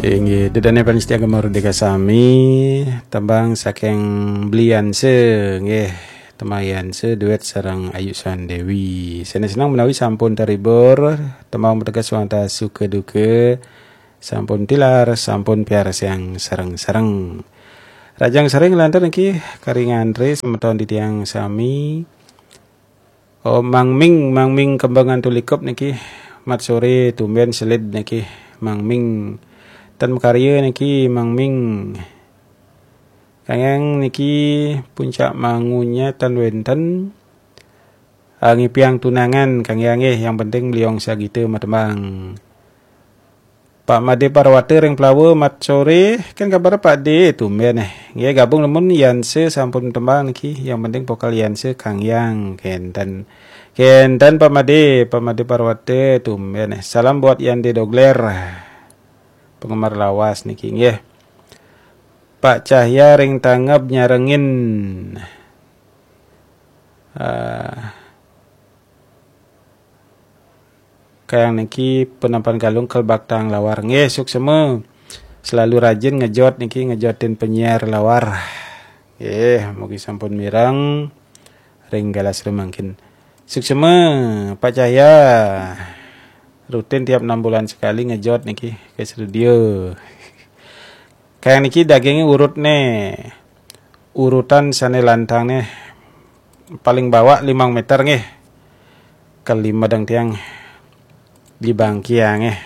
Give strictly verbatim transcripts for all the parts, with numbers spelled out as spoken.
Inggih, ida dané pamiarsa Gema Merdeka sami, tembang saking Bli Yanse, nggih, Tembang Yanse duet sareng Ayu Sandewi. Seneng-seneng menawi sampun terhibur, tembang punika wantah suka duka, sampun tilar, sampun piarsayang sareng-sareng. Rahajeng sore nglantur niki kari ngantre semeton titiang sami. Oh, Mang Ming, Mang Ming Kembangan Tulikup niki. Mat sore tumben selid niki, Mang Ming. Ten makarya niki, Mang Ming. Kang Yang niki puncak mangunya ten wenten. Ah, ngipiang tunangan, Kang Yang nggih, yang penting beliau sagita matembang. Pak Made Parwata ring Plawa, mat sore, kan kabar Pak De, tumben eh. Nggih, gabung nemen Yanse sampun tembang niki, yang penting vokal Yanse Kang Yang, kenten. Kenten Pak Made, Pak Made Parwata, tumben eh. Salam buat Yande Dogler, penggemar lawas niki, nggih. Pak Cahya ring Tangeb nyarengin. Ah, Kayang niki penampahan Galung Kelbaktang Lawar. Nggih, suksema. Selalu rajin ngejot niki, ngejotin penyiar lawar. Nggih, mugi sampun mireng ring galah sira mangkin. Suksema, Pak Cahya. Rutin tiap enam bulan sekali ngejot niki ke studio. Kayang niki dagingnya urut nih. Urutan sane lantang nih. Paling bawah limang meter nggih. Kelima dang tiang di bangkiang nggih.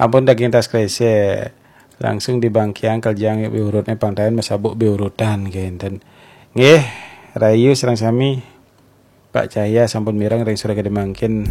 Ampun daging tas kresek. Langsung di bangkiang keljang urutnya pangtayan masabuk biurutan kenten. Nggih, rayu sareng sami. Pak Cahya sampun mireng ring sore gede mangkin.